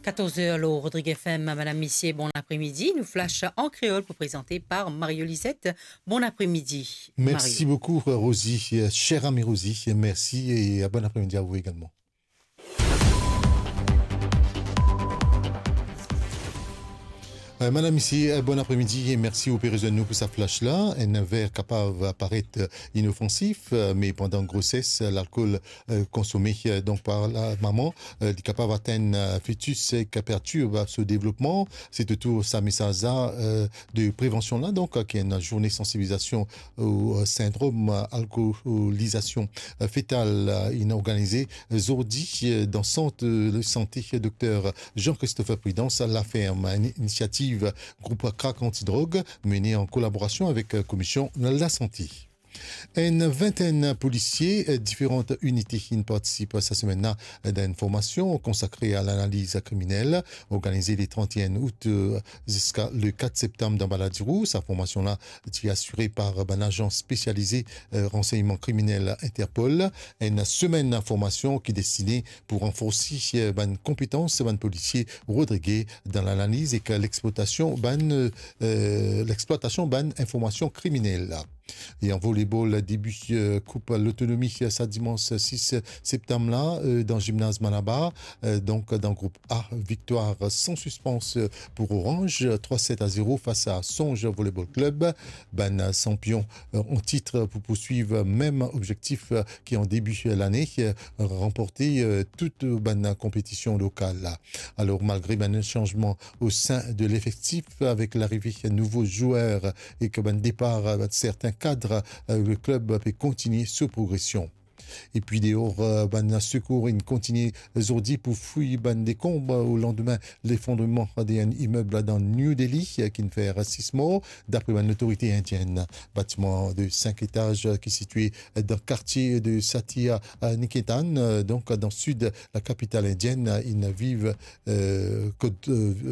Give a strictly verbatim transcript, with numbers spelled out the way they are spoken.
Katorz er lor Rodrig F M, madam, misie, bon apremidi. Nou flash an kreol pou prezante par Mario Lisette. Bon apremidi, Mario. Merci beaucoup, Rosie. Euh, cher ami Rosie, merci et, euh, bon après-midi à vous également. Euh, madam, misie, euh, bon apremidi e mersi ou pe rezwenn nou pou sa flash la. Enn ver kapav paret, euh, inofansif, euh, me pandan groses, euh, lalkol, euh, konsome, euh, donk par la mama, euh, li kapav atenn, euh, fetis ek pertirb so devlopman. Se toutour sa mesaz la, euh, de prevansion la, donk, euh, ki enn zourne sansibilizasion o, euh, sindrom, euh, alkolizasion, euh, fetal, euh, inn organize, euh, zordi, euh, dan sant, euh, de sante Dokter Jean-Christophe Prudence, Laferm, enn inisiativ group Crack Antidrog, mene an kolaborasion avek, euh, Komision Lasante. Enn vintenn polisie, euh, diferan inite inn partisip sa semenn la, euh, dan enn formasion konsakre a lanaliz kriminel, organize le trant et un out, euh, ziska le kat septam dan Baladiro. Sa formasion la ti asire par bann azans spesialize, euh, ransegnman kriminel Interpol. Enn semenn formasion ki destine pou ranforsi, euh, bann konpetans bann polisie rodrige dan lanaliz ek lexplwatasion bann, euh, euh, lexplwatasion bann informasion kriminel. E an volebol, debi, euh, Koup Lotonomi, euh, sa dimans sis septam la, euh, dan zimnaz Malabar, euh, donk dan group A, viktwar san sispans, euh, pou Orange, euh, trwa set a zero fas a Songe Volleyball Club. Bann, euh, sanpion, euh, an tit pou pourswiv mem obzektif, euh, ki an debi lane, euh, ranporte, euh, tout, euh, bann konpetision lokal la. Alor, malgre bann sanzman o sin de lefektif, avek larive nouvo zwer ek bann depar, euh, serten kad, euh, le klub pe kontigne so progresion. Epi deor, euh, bann sekour inn kontigne zordi pou fouy bann dekonb, euh, o landime lefondreman de enn imeb dan New Delhi, euh, ki'nn fer sis mor, dapre bann lotorite indienn. Batiman de sink etaz, euh, ki sitie dan kartie de Satya, euh, Niketan, euh, donk dan sid lakapital indienn, euh, inn viv, euh, kot, euh,